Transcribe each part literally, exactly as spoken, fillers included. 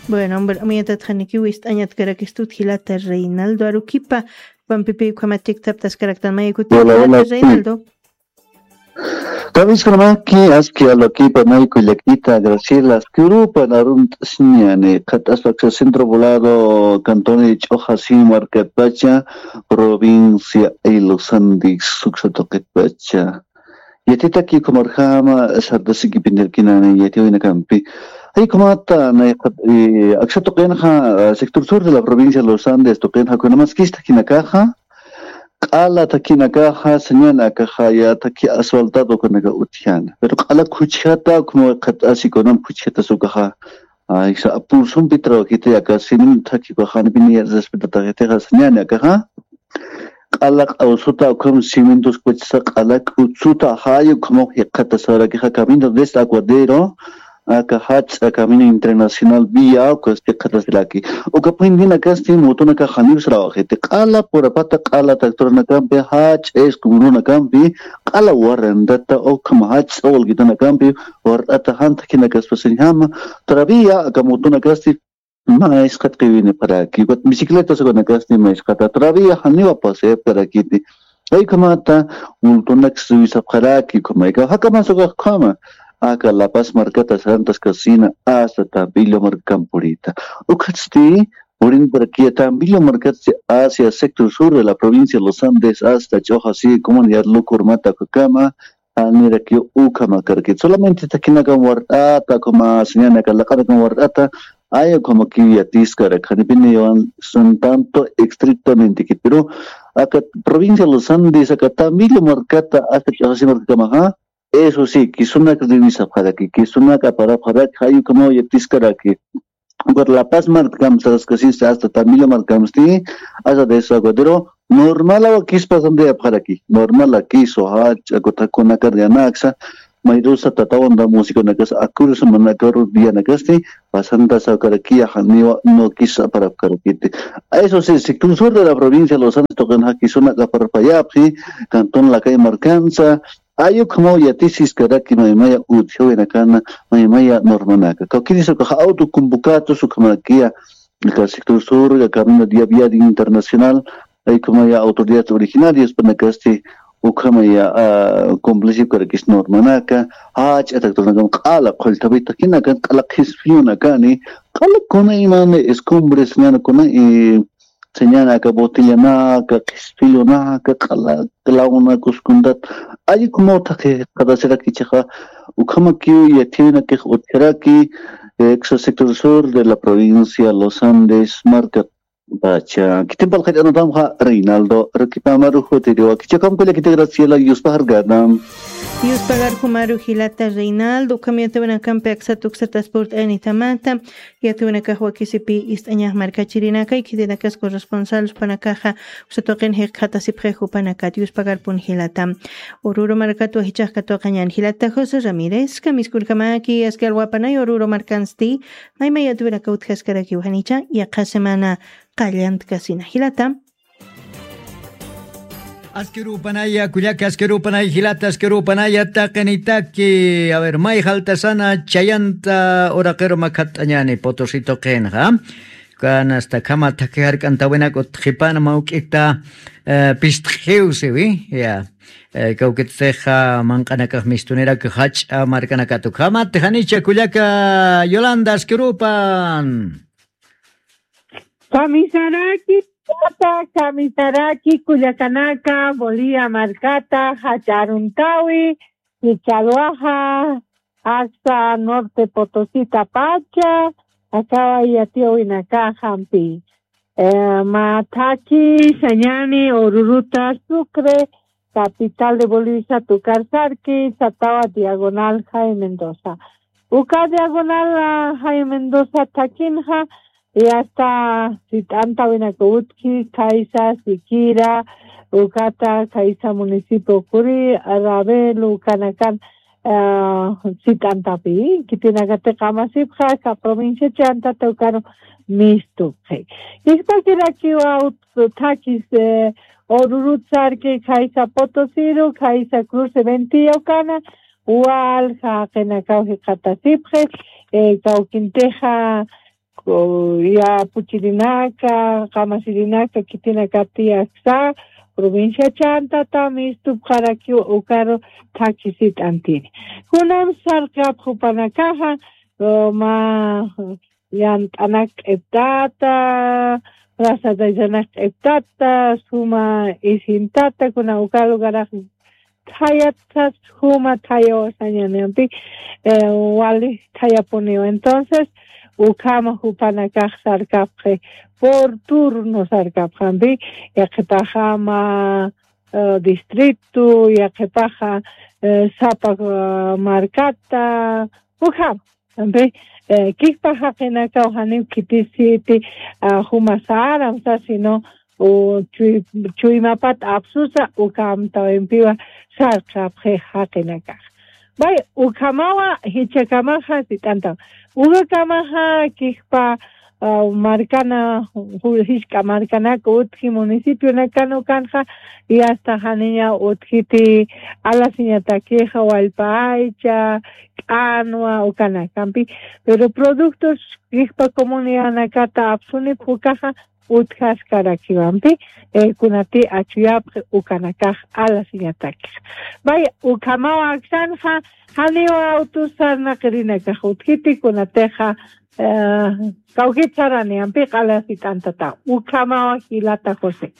Bueno, hombre, amuyatatatxanikiw ist'añatkarakistut jilata Reinaldo Aruquipa, pampipi ukhamatik thaptaskaraktan mayakutiw. Hola, hola, jilata Reinaldo. Kamiskanamaki, aski Aruquipa, mayku llakita Graciela, askirupa narunt'asiñani, qhat'aspa aksa Centro Poblado, cantón Ch'uxasi markatpacha, provincia Los Andes, suksa tuqitpacha. Yatitaki ukhamarjama, sartasikipinirkinani yatiwinakampi. Ay, ukhamata, nay, eh, aksa tuqinxa, eh, sector sur de la provincia de Los Andes, tuqinxa, kunamaskista kinakaxa, q'ala takinakaxa, sañan akaxa, ya taki asfaltado kunaka utjana. Pero q'ala khuchjata, como qhat'asi kunam khuchjata sukaxa. Ay, sa, pulsumpi trabajita yaka, sinin taki kaxani pini ya respetata jitixa, sañan akaxa. Q'ala q'awsuta ukham cimientos kuchsa q'ala k'utsuta jayu ukhamaw jiqatasarakixa camino desde Aguadero, aka jach'a camino internacional vía, ukas jiqatasiraki. Uka puentinakasti motonaka janiw sarawajiti. Q'ala purapata q'ala tractornakampi, jach'a escumurunakampi, q'ala warrantata ukham jach'a walkitanakampi, warrata janta kinakaspasiñjama. Todavía aka motonakasti maysqat qiwinipxaraki, ukat bicicleta sukanakasti maysqata todavía janiwa pasayapkarakiti. Ay ukhamata, multunaks suwisapxaraki, ukhamayka, jakamas ukaxkhama, aka La Paz markata sarantaskasina, hasta Tambillo markampurita. Ukhatsti, purinparakiya Tambillo markatsi hacia sector sur de la provincia de Los Andes, hasta Ch'uxasi, comunidad Lukurmata, ukakama, janirakiw ukhamakaraki. Solamente takinakam wart'ata, ukhama sañanaka laq'anakam wart'ata, ay ukhamakiw yatiskarak, janipiniwan son tanto estrictamente kit. Pero aka provincia Los Andes, aka Tambillo markata, hasta Ch'uxasi markakamaxa, eso sí, kisunak revisapxaraki, kisunak aparapxaraki, jay ukhamaw yatiskaraki. Ukat La Paz markam saraskasinsa hasta Tambillo markamsti, hasta Desaguadero, normal awakis pasantayapxaraki, normal akisu, jach'a kuthakunakar yanaksa, mayrusa tatawan da musikunakas, akurus manakaru dianakasti, pasanta sawkarakiya janiwa nukis aparapkarakiti. Eso sí, sector sur de la provincia de Los Andes tuqinxa kisunak aparpayapxi, cantón Lakay markansa, ay ukhamaw yatisiskaraki maymaya utjawinakana, maymaya normanaka. Kawkirisa ukaxa auto convocados ukhamakiya, aka sector sur, aka camino de vía internacional, ay ukhamaya autoridades originarias panakasti, ukhamaya, ah, cumplisipkarakis normanaka, jach'a tractornakam q'ala qhullthapi takinakan, q'ala qhispiyunakani, q'ala kuna imani escumbres, ñana kuna, eh, sañanaka, botellanaka, qhispiyunaka, q'ala, clavonakus kuntat. Ay ukhamaw thaqi qhatasirak ichaxa, ukhamakiw yathiwinakix utjaraki, eh, aksa sector sur de la provincia Los Andes, markat pacha. Khitin p'alqallanatamxa Reinaldo Aruquipa, maru jutiriwa. Khichhakampi kullakita Graciela, yuspaxarkata. Yuspaxarkamaru jilata Reinaldo, ukham yathiwinakampi aksat uksat aspurt'ayanitamata, yathiwinakax wakisipi ist'añax markachirinakay, khitinakas corresponsal jupanakaxa, uksat tuqin jikxatasipxi jupanakat, yuspaxarpun jilata. Oruro markat wajichax katuqañan jilata José Ramírez, kamiskunkamaki, aski alwapanay Oruro markansti, maymay yathiwinaka utjaskarakiw janicha, yaqha semana qallantkasina jilata. Askirupanaya, kullaka askirupanaya, jilata askirupanaya, taqinitaki. A ver, may jaltasana chayanta uraqiru makhat'añani Potosí tuqinxa. Kanasta khama thakhi jark'antawinak utjipana mawk'ita, eh, pistqiw siwi, ya. Eh, kawkittixa manq'anakax mistunirak jach'a markanakatu. Khamati janicha kullaka Yolanda askirupan. Kamisaraki, tata, kamisaraki, kullakanaka, Bolivia markata, jach'a aruntawi, Chichalwaja, hasta Norte Potosita pacha, akawa yatiyawinaka jampi. Eh, mä thakhi sañani Oruruta Sucre, capital de Bolivia, tukar sarki, satawa diagonal Jaime Mendoza. Uka diagonal, ah, Jaime Mendoza thakhinxa, y hasta sit'antawinaka utji, khaysa, Siquira, ukata, khaysa municipio Curi, Ravel, ukanakan, ah, sit'antapi, khitinakati qamasipxa, aka provincia chantata ukaru mistupxi. Jikpakirakiwa ut-, thakis, eh, Orurut sarki, khaysa Potosiru, khaysa Cruce Ventilla ukana, walja jaqinakaw jikxatasipxi, eh, kawkintixa, ku-, yapuchirinaka, qamasirinaka, khitinakati aksa, provincia Chantata mistupxarakiw ukaru thakhisit'antini. Kunam sarqapxi jupanakaxa, eh, mä yant'anak q'iptata, plaza de arrasanak q'iptata, suma isintata, kuna uka lugarax thayat sas juma thayawasañanimpi, eh, wali thayapuniwa. Entonces, ukhama jupanakax sarkapxi, por turno sarkapxampi, yaqhipaxa mä, eh, distrito, yaqhipaxa, eh, sapa, eh, markata, ukhama. Ampi, eh, kikpa jaqinakaw janiw khitisiti, ah, juma saram sa, sino, u, chuy-, chuymapat apsusa, uka amtawimpiwa sarqapxi jaqinakax. Bay, ukhamawa, jichhakamaxa, sit'antaw. Ukakamaxa, kikpa, ah, markana, ju-, jisk'a markanaka, utji municipionakan ukanxa, y hasta janiña utjiti alasiñatakixa, wallpa aycha, k'anwa, ukanakampi. Pero productos kikpa comunidanakata apsunipxi ukaxa utjaskarakiwampi, eh, kunati achuyapxi ukanakax alasiñatakix. Vaya, ukhamaw aksanxa, janiw autos sarnaqirinakax utjiti kunatixa, eh, kawkit saranimpi q'ala sit'antataw. Ukhamaw jilata José.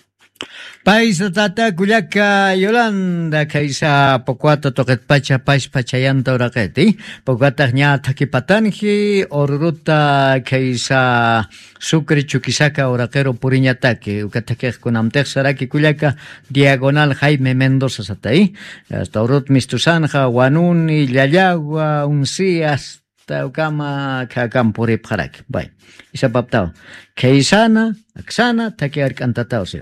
Paysa tata kullaka Yolanda, khaysa Pocoata tuqitpacha pachpa chayanta uraqiti. Pocoatax ña thakhipatanji, Oruruta khaysa Sucre Chuquisaca uraqiru puriñataki. Uka thakix kunamtix saraki kullaka, diagonal Jaime Mendoza satay. Hasta Orurut mistusanxa, Wanuni, Llallagua, Uncias, ta ukama, khakam puripxaraki. Bueno, isapaptaw. Khaysana, aksana, thaki ark'antataw, sí.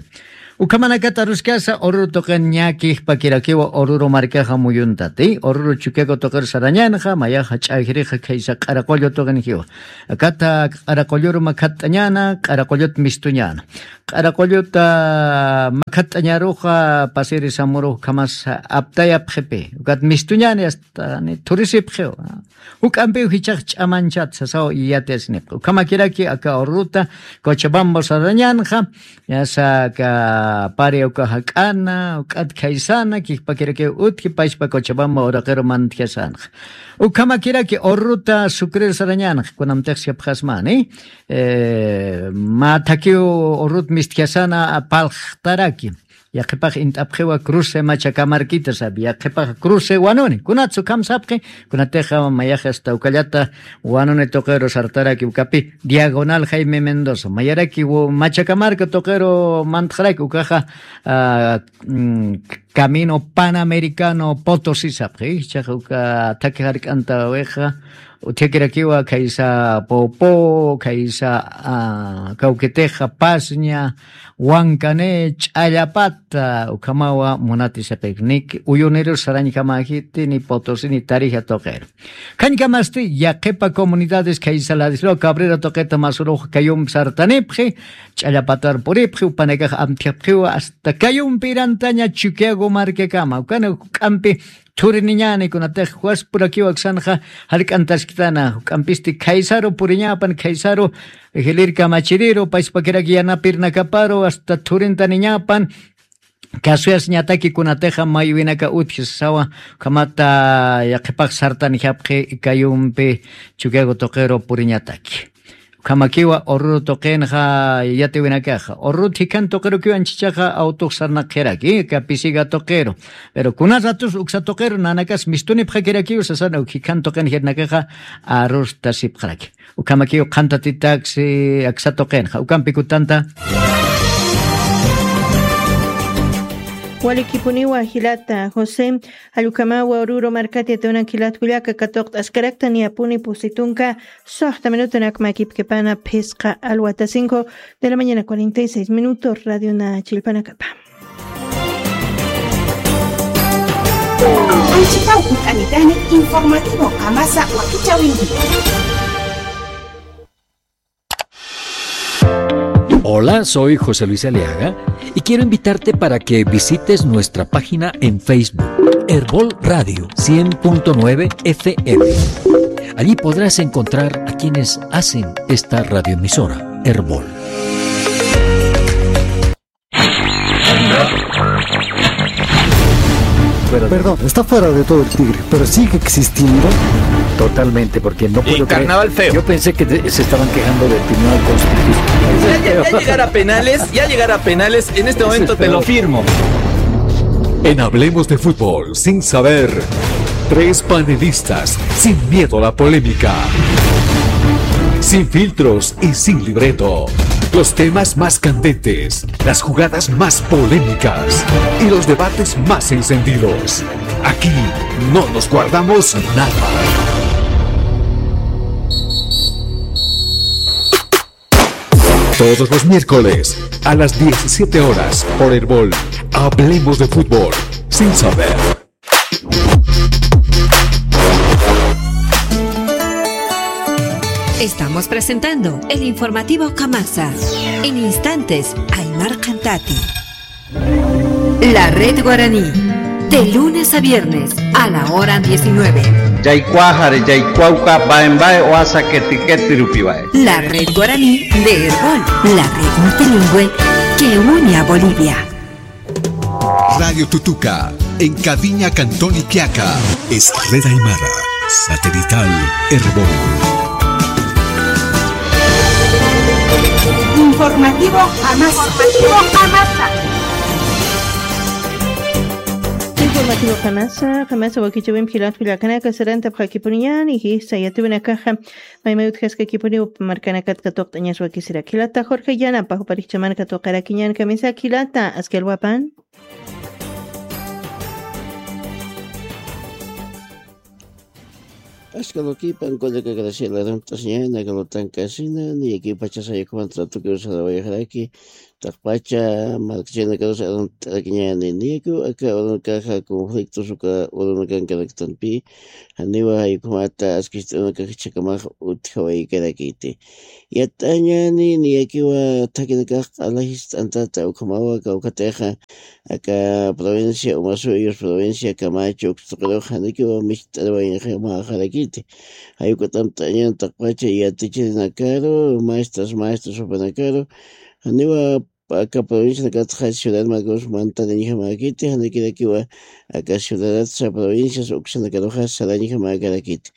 Ukhamanakata aruskasa, Oruro tuqin ña kikpakirakiwa Oruro markaxa muyuntati. Oruro Chuquiago tuqir sarañanxa, mayaxa ch'ajrixa khaysa Q'araqullu tuqin jiwa. Akata Q'araqulluru makhatt'añana, Q'araqullut mistuñana. Q'araqulluta makhatt'añaruxa, pasiri samuru ukhamas aptayapxipi. Ukat mistuñani hasta ni thurisipxiw. Juk'ampiw jichhax ch'amanchat sasaw yatiyasinipxi. Ukhamakiraki aka Oruruta Cochabamba sarañanxa, yasa aka pari uka jak'ana, ukat khaysana, kikpakirakiw utji pachpa Cochabamba uraqiru mantjasanxa. Ukhamakiraki Oruruta Sucre sarañanxa, kunamtix sapxasmani, eh, mä thakiw Orurut mistjasana palxtaraki. Yaqhipax int'apxiwa cruce Machacamarquita sabi, yaqhipax cruce Wanuni. Kunatsa ukham sapxi, kunatixa mayax hasta ukallata Wanuni tuqiru sartaraki ukapi, diagonal Jaime Mendoza. Mayaraki wo-, Machacamarca tuqiru mantxaraki ukaxa, ah, mm, Camino Panamericano Potosí sapxi. Jichhax uka thaki jark'antawixa, utjakirakiwa khaysa Poopó, khaysa, ah, kawkitixa Pasña, Huancané, Ch'allapata, ukhamawa munati sapxi. Ni Uyunirus sarañjamäjiti, ni Potosí, ni Tarija tuqiru. Khañkamasti, yaqhipa comunidades khaysa Ladislao Cabrera tuqita masurux Cayumpi sartanipxi, Ch'allapatar puripxi, upanakax amtjapxiwa, hasta Cayumpi irantaña Chuquiago markakama. Ukana juk'ampi thuriniñani kunatix juez purakiw aksanxa jark'antaskitana, juk'ampisti khaysaru puriñapan, khaysaru jilïr kamachiriru, pachpakiraki yanapirnakaparu, hasta thurintaniñapan, kasuyasiñataki kunatixa maywinaka utji sasawa, ukhamata yaqhipax sartanijapxi Cayumpi Chuquiago tuqiru puriñataki. Ukhamakiwa Oruro tuqinxa yatiwinakaxa. Oruro jikhan tuqirukiw anchichaxa autox sarnaqxiraki, aka Pisiga tuqiru. Pero kuna ratus uksa tuqiru nanakas mistunipxakirakiw sasana uk jikhan tuqin jirnakaxa arustasipxaraki. Ukhamakiw qhantatitaksi aksa tuqinxa. Ukampi kutanta. Walikipuniwa jilata José, jallukamawa Oruro markati atawnak jilat kullaka katuqt'askarakta niyapuni pusitunka, soxta minuto nakmakipkipana phisqa alwata cinco de la mañana cuarenta y seis minutos, radio na chilpanakapa. Anchitaw kut'anitani informativo kamasa wakichawinki. Hola, soy José Luis Aliaga y quiero invitarte para que visites nuestra página en Facebook. Erbol Radio cien punto nueve F M. Allí podrás encontrar a quienes hacen esta radioemisora, Erbol. Perdón, está fuera de todo el tigre, pero sigue existiendo. Totalmente, porque no puedo creer. Carnaval feo. Yo pensé que de- se estaban quejando del Tribunal Constitucional. Ya, ya, ya llegar a penales, ya llegar a penales, en este momento te lo firmo. En Hablemos de Fútbol, sin saber, tres panelistas sin miedo a la polémica. Sin filtros y sin libreto. Los temas más candentes, las jugadas más polémicas y los debates más encendidos. Aquí no nos guardamos nada. Todos los miércoles a las diecisiete horas por Erbol. Hablemos de fútbol sin saber. Estamos presentando el informativo Kamasa. En instantes, Aymar Cantati. La Red Guaraní, de lunes a viernes, a la hora diecinueve. Yaykuwaxari, yaykuwawka, baen bae, oasa keti keti rupiwae. La Red Guaraní de Erbol, la red multilingüe que une a Bolivia. Radio Tutuca, en Caviña, Cantón Iquiaca, es Red Aymara, satelital Erbol. Informativo Kamasa. Informativo Kamasa. Informativo Kamasa, Kamasa wakichäwimp jilat kullakanaka, sarantapxakipuniñäni jisa yatiyäwinakaxa maymay utjaskakipuniw markanakat katuqt'añas wakisiraki. Jilata Jorge Yanapa, juparix ch'aman katuqarakiñän kamisaki jilata, aski alwapan. Aski alwakipan, kullaka Graciela, arunt'asiñäni, aka lutankasina, niyakiw pachasa yukhaman tratukiw sarawayaxaraki, taqpacha markachaynakarus arunt'arakiñäni, niyakiw aka urunakaxa conflictos uka urunakankaraktanpi, janiwa jay ukhamata aski ist'unakax jichhakamax utjawaykarakiti. Yat'añäni, niyakiwa thakinakax q'ala jist'antata ukhamawa, kawkhatixa aka provincia Omasuyos, provincia Camacho, uksa tuqirux janikiwa micht'arawayaxarakiti. Jay ukat amtañan taqpacha yatichirinakaru, maestras, maestros jupanakaru, janiwa aka provincianakatxa ciudad makus mantarañjamäkiti, janikirakiwa aka ciudadatsa provincias uksanakaruxa sarañjamäkarakiti.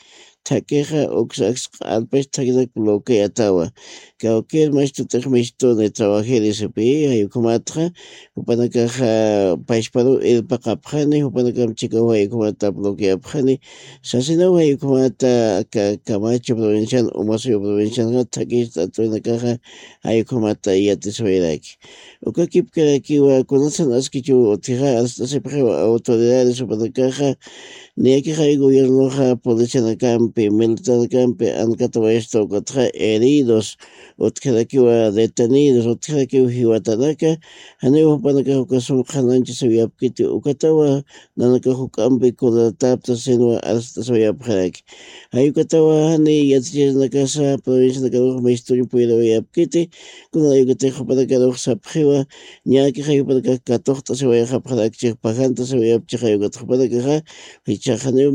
Thakixa uksa aksaq alpach thakinak bloqueatawa. Cualquier mastutix mistuni trabajiri sipi, jay ukhamatxa, jupanakaxa pachparuw irpaqapxani, jupanakam chikaw jay ukhamata bloqueapxani, sasinaw jay ukhamata aka Camacho provincian, Omasuyos provincianxa thakistat urinakaxa jay ukhamata yatisiwayaraki. Uka kipkarakiwa, kunatsan askichiw utjixa, arst'asipxiwa autoridades jupanakaxa, niyakixa gobiernoxa policianakampi, militarnakampi ankat wayasta, ukatxa heridos utjarakiwa, detenidos utjarakiw jiwatanaka, janiw jupanakax uka sum qhananchasiwayapkiti, ukatawa nanakax juk'ampi coladatapta sinwa arst'asiwayapxaraki. Jay ukatawa jani yatichirinakasa provincianakarux mistuñ puyrawayapkiti, kuna jay ukatix jupanakarux sapxiwa, niyakixa jupanakax katuqt'asiwayxapxarakchix, pajantasiwayapchix jay ukat jupanakaxa, jichhax janiw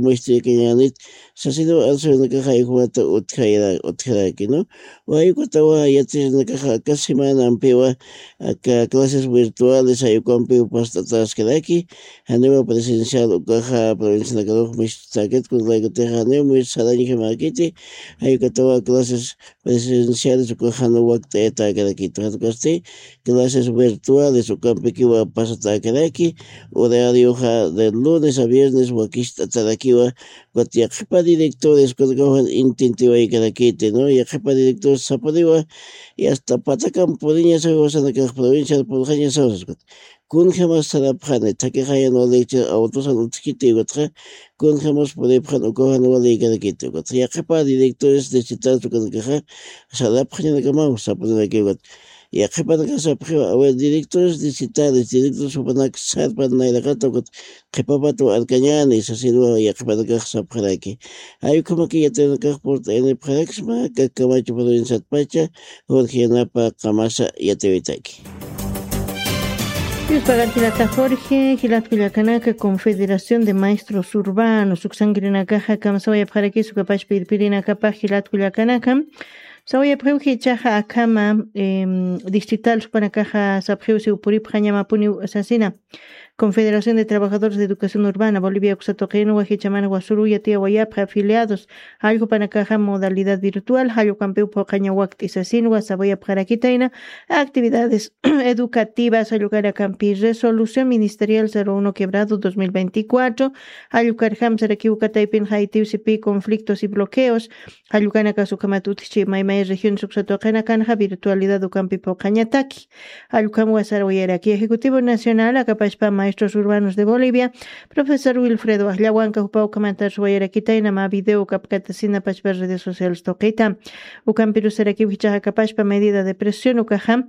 mistuñakañänit, sasinaw arsurinakaxa jay ukhamata utjayra-, utjaraki, ¿no? Jay ukatawa yatichirinakaxa aka semanampiwa, aka clases virtuales jay ukampiw past'atäskaraki, janiwa presencial ukaxa provincianakarux mistutäkit, kunalaykutixa janiw mis sarañjamäkiti, jay ukatawa clases presenciales ukaxa jan wakt'ayatäkarakit, jan ukasti clases virtuales ukampikiwa pasatäkaraki, horarioxa de lunes a viernes wakist'atarakiwa, ukat yaqhipa directores kunakaw jan intentiwaykarakiti, ¿no? Yaqhipa directores sapaniwa, y hasta patakam puriñasaw jiwasanakax, provincial purxañasaw saskat. Kunjamas sarapxani, thakixa jan walikichir autosan utjkiti ukatxa, kunjamas puripxan ukaw jan walikarakiti ukatxa. Yaqhipa directores distritales ukanakaxa sarapxañanakamaw sapaniraki ukat. Yaqhipanakax sapxiwa, a ver, directores distritales, directores jupanak sarpan nayraqata ukat qhipapataw arkañäni, sasirwa yaqhipanakax sapxaraki. Jay ukhamaki yatiyäwinakax purt'ayanipxaraksma, aka Camacho provinciatpacha, Jorge Yanapa, Kamasa yatiyäwitaki. Yuspagar jilata Jorge, jilat kullakanaka, Confederación de Maestros Urbanos, uksankirinakaxa, kamsawayapxarakis ukapach pirpirinakapa jilat kullakanaka. Sawayapxiw jichaxa akama, em, distrital supanakaxa sapxiw si upuripxañamapuniw sasina. Confederación de Trabajadores de Educación Urbana Bolivia uksatuqin wajichaman wasuruya tiyawayapxa afiliados, allqupanakaxa modalidad virtual, jallukampiw phuqaña wakt'isasinwa sawayapxarakitayna, actividades educativas, jallukanakampi resolución ministerial cero uno quebrado dos mil veinticuatro, jallukar jamsarakiw kataypin jaytiw sipi conflictos y bloqueos, jallukanakas ukhamat utjchi maymay regiones uksatuqinakanxa virtualidad ukampi phuqañataki. Jallukam wasarawayaraki Ejecutivo Nacional akapashpa Maestros Urbanos de Bolivia, profesor Wilfredo Ajllawanka jupa ukhamantar suwayarakitayna mä video kapkatasina pashpa redes sociales tuqita. Ukampirusarakiw jichaxa akapashpa medida de presión ukaxa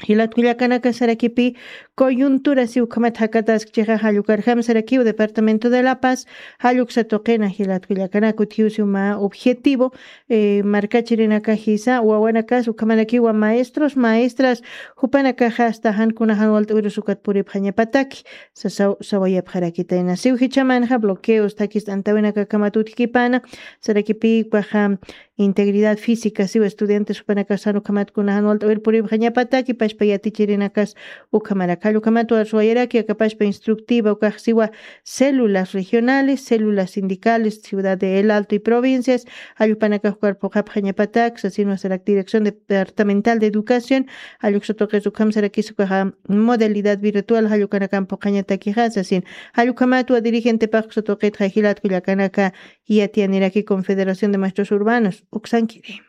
jilat kullakanaka sarakipi coyuntura si ukhamat jakataskchixa, jallukar jamsarakiw departamento de La Paz, jalluksa tuqina jilat kullakanaka utjiw si uma objetivo, eh, markachirinaka jisa wawanakas ukhamanakiwa maestros maestras, jupanakaxa hasta jan kuna jan walt'wirus ukat puripxañapataki. Sasaw sawayapxarakitayna siw jichamanxa bloqueos takist'antawinakakamat utjkipana, sarakipi ukaxa integridad física siwa estudiantes jupanakasan ukhamat kuna jan walt'wir puripxañapataki pashpa yatichirinakas ukhamaraka. Jallukhamat warsuwayaraki akapashpa instructiva ukax siwa células regionales, células sindicales, ciudad de El Alto y provincias, jallukpanakax ukar phuqhapxañapatak sasinwa sarak dirección departamental de educación, jalluksa tuqis ukham sarakis ukaxa modalidad virtual jallukanakan phuqhañatakixa sasin. Jallukhamatwa dirigentepax uksa tuqitxa jilat kullakanaka, yatiyaniraki Confederación de Maestros Urbanos uksankiri.